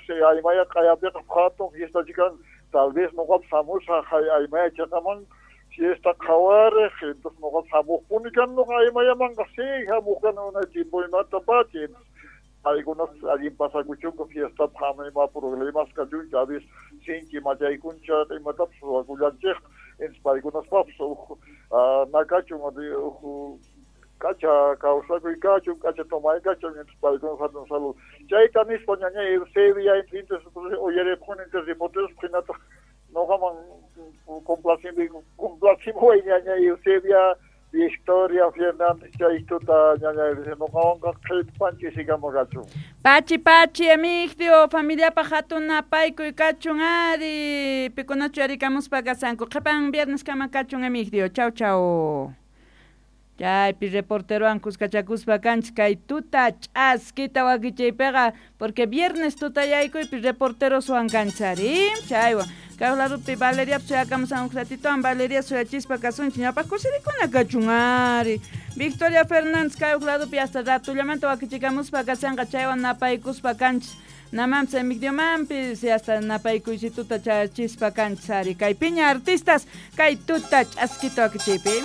Aymaya q'ayapiqa hatun fiesta chikan, tal vez noqapas hamusaq Aymaya chaqaman fiesta qhawariq, entonces noqapas hamuqpuni kani noqa Aymayamanqa, sí, hamuq kani unay tiempoymantapacha, entonces paykunas allin pasakuchunku fiestapaq, ama ima problemas kachunchu, a veces sinchi machaykuncha imatapas ruwakullanchikqa, entonces paykunaspaqpas huk nakachun, huk k'acha kawsakuy kachun, k'acha tomay kachun, entonces paykuna hatun saludo. Chayta nispa ñañay Eusebia, entonces uyaripuni entonces reporteros hinataq noqaman complacimui ñañay Eusebia, Victoria Fernández chay tuta ñañay noqawanqa qhipan ch'isikama kachun. Pachi pachi Emigdio, familiapaq hatun napaykuy kachun ari, pikunachu yarikamuspa kasanku, qhipan viernes kama kachun Emigdio, chau chau. Chaypi reporterowan kuskachakuspa kanchik kay tuta ch'askita wakichiypiqa, porque viernes tutayaykuypi reporteroswan kanchik ari, chaywan. Kay ladopi Valeria suyakamusan huk ratitowan Valeria suyachispa kasunchik, ñawpaq kusirikuna kachun ari. Victoria Fernández kay huk ladopi hasta ratullamanta wakichikamuspa kasanqa, chaywan napaykuspa kanchik. Namanpis Emigdiomanpis hasta napaykuysituta chayachispa kanchik ari. Kay piña artistas kay tuta ch'askita wakichiypi.